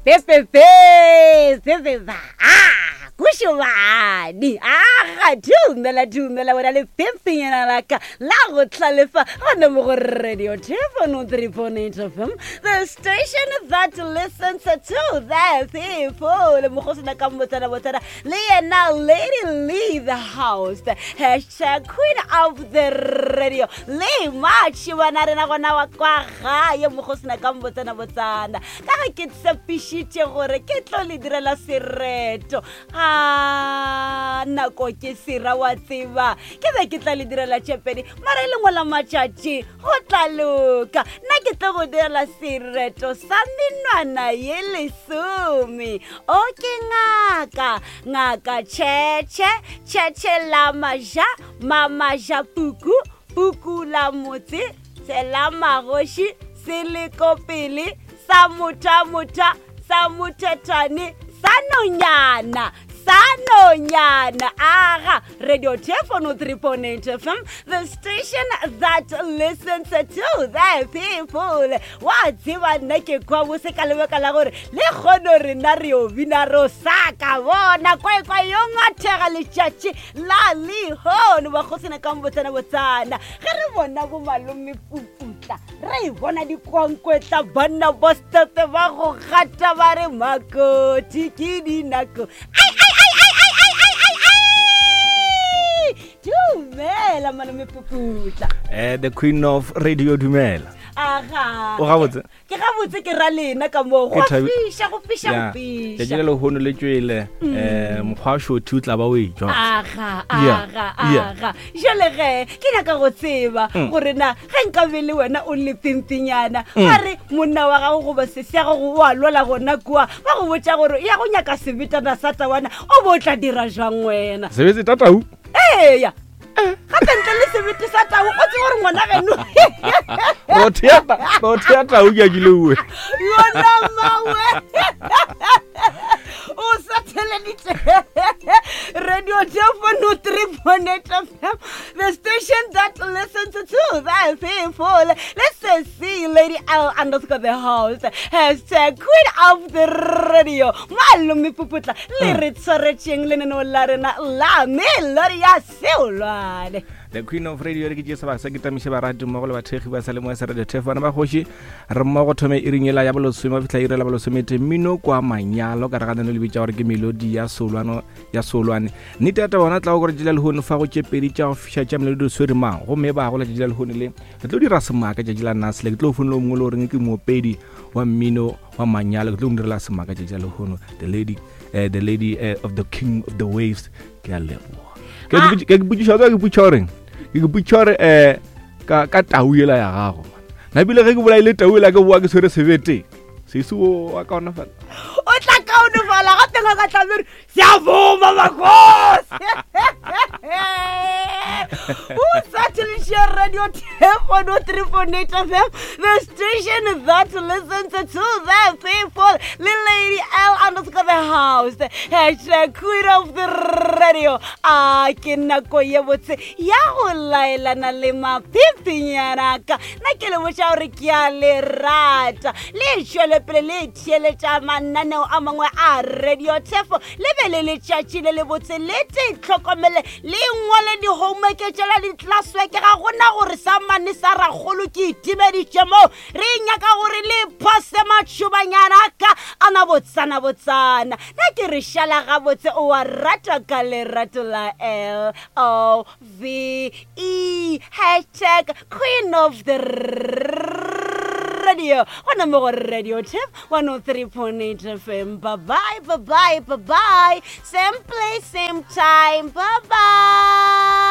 Pepepe, pepepa, ah, kušobane, aga, dumela, dumela, wena le pimpinyana la ka la go tlalefa gona mo go Radio Telephone 3.8 FM, the station that listens to the people. Mokgosana ka motsana botsana le yena Lady Lee the house, hashtag queen of the radio. Le matšhibana rena gona wa kwa gae mokgosana ka motsana botsana. Ka ge ke tshepišitše gore ke tlo le direla sereto a nako ke sera wa tseba ke be ke tla le direla tšepedi mara e lengwe la matšatši go tla loka nna ke tlo go direla sereto sa menwana ye lesome o ke ngaka ngaka tšhetšhe tšhetšhe la maja mamaja puku puku la motse Sela magoši se le ko pele sa motha-motha sa mothethwane sa nonyana sa nonyana aga radio telephone 3.8 fm the station that listens to the people wa tseba nna ke kwa bose ka lebaka la gore le kgono rena re yo bina ro sa ka bona kwaekwa yo ngathega letšatši la lehono bakgosana ka mobotsana botsana ge re bona bomalome puputla re e bona dikwankwetla banna ba stepe ba go gata ba re makoti ke dinako dumela malome puputla eh the queen of radio dumela aga o gabotse ke gabotse ke ra lena ka moo go fiša go fiša go fiša letšatši le lehono le tšwele um mokgwa wa šothi o tla ba o e jwa aga aga aga jale ge ke nyaka go tseba mm. gore na ge nka be le wena o le pimpinyana mm. ba re monna wa gago goba sese ya gago o a lwala gona kua ba go botša gore ya go nyaka sebetana sa tawana o bo o tla dira jwang wena sebetse tatau eya gape ntle le sebete sa tau o tsebe gore ngwana geno rothe ya tau ke a kile uwe yona mawe o sa theleditše radio telefono 3.8 fm the station that listens to the people let's see lady l underscore the house hashtag queen of the radio malome puputla le re tshwaretšeng lenaneo la rena la melodi ya seolwane the queen of radio re ke tše sebaka sa ke tamiše barati mmogo le bathekgi ba salemoya sa radio tef bana ba kgoši re mmogo thome iring ela ya bolesome ba fitlha iri la bolesomete mmino kwa manyalo ka re ga nano le bitša gore ke melodi ya solwano ya solwane nnete ya taba ona tla go gore tšela lehono fa go tše pedi tša go fiša tša melodi swere mang gomme ba gola tšatši la lehono le re tlo dira semaka tšatši la nase le ke tlo fonela o mongwe le goreng ke moopedi wa mmino wa manyalo ke tlo mo direla semaka tšatši la lehono the lady uh, the lady uh, of the king of the waves ke a leboga ke ah. ke botšiša ke botšiša goreng ke ke botšiša gore um ka ka tau ela ya gago na bile ge ke bolaile tau ela ke boa ke tshwere sebete sesi o wa kaonafala o tla kaonefala gape ga ka tlamere Siyavuma makhosi. Usathilishe Radio 10.3.8 FM, the station that listens to the people. Little Lady L underscore the house. Hashtag queen of the radio. A ke nako ye botse ya go laelana le maphiphinyana ka. Na ke le botša gore ke a le rata. Le tšwele pele le theeletša mananeo a mangwe a radio tefo le be le letšatši le lebotse le te tlhokomele le ngwale di-homework tšela di-classwork ga gona gore sa mane sa rakgolo ke itimeditše moo re nyaka gore le phose matšhobanyana ka ana botsana botsana na ke re šala gabotse o a rata ka lerato la l o V E hashtag queen of the radio gona mo go radio tip 103.8 fm bye bye bye bye bye bye same place same time bye bye.